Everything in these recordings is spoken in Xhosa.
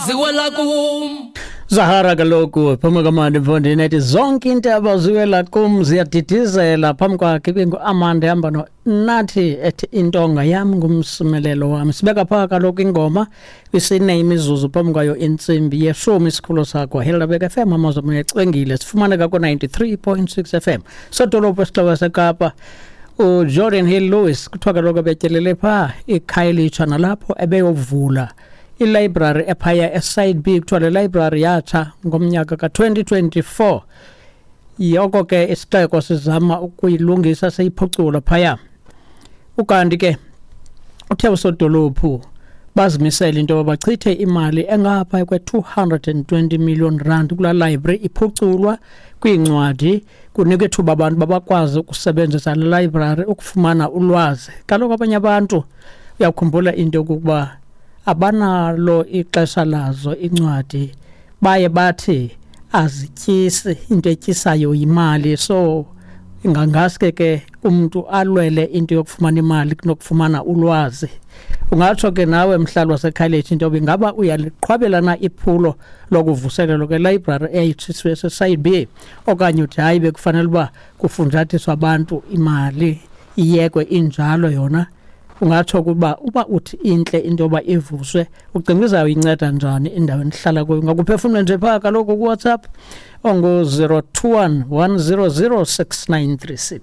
Ziwela kum. Zahara kaloku phuma kamandi mfondini ethi zonke iintaba ziwela kum ziyadidizela. Phambi kwakhe ibingu-Amanda ehamba no-Nathi ethi intonga yam ngumsimelelo wam. Sibeka phaa kaloku ingoma kwisine imizuzu phambi kwayo intsimbi yeshumi. Isikhululo sakho Helderberg FM, amazwi amoya ecwengile. Sifumaneka ku-93.6 FM. Sodolophu esixeko seKapa uGeordin Hill Lewis kuthiwa kaloku ebetyelele phaa iKhayelitsha nalapho ebeyovula ilibrary ephaya eSide B. Kuthiwa le library yatsha ngomnyaka ka-2024. Yoko ke isixeko sizama ukuyilungisa seyiphucula phaya. Ukanti ke uthe usodolophu bazimisele into yoba bachithe imali engapha kwe-220 million rand kulaa library iphuculwa kwiincwadi, kunikwe ithuba abantu babakwazi ukusebenzisa le library ukufumana ulwazi. Kaloku abanye abantu uyakhumbula into yokokuba abanalo ixesha lazo incwadi, baye bathi azityisi, into etyisayo yimali. So ingangaske ke umntu alwele into yokufumana imali kunokufumana ulwazi. Ungatsho ke nawe mhlali waseKhayelitsha into yoba ingaba uyaliqhwabela na iphulo lokuvuselelwa kwelayibrari eyayitshiswe seSide B, okanye uthi hayi, bekufanele uba kufunjathiswa abantu imali iyekwe injalo yona. Ungatsho ukuba uba uthi intle into yoba ivuswe, ucinga izawuyinceda njani indawo enihlala kuyo? Ungakuphefumle nje phaa kaloku kuWhatsApp ongu-021 100 6936.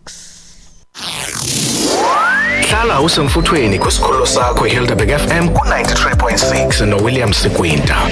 Hlala usemfuthweni kwisikhululo sakho iHelderberg FM ku-93.6 noWilliam Sikwinta.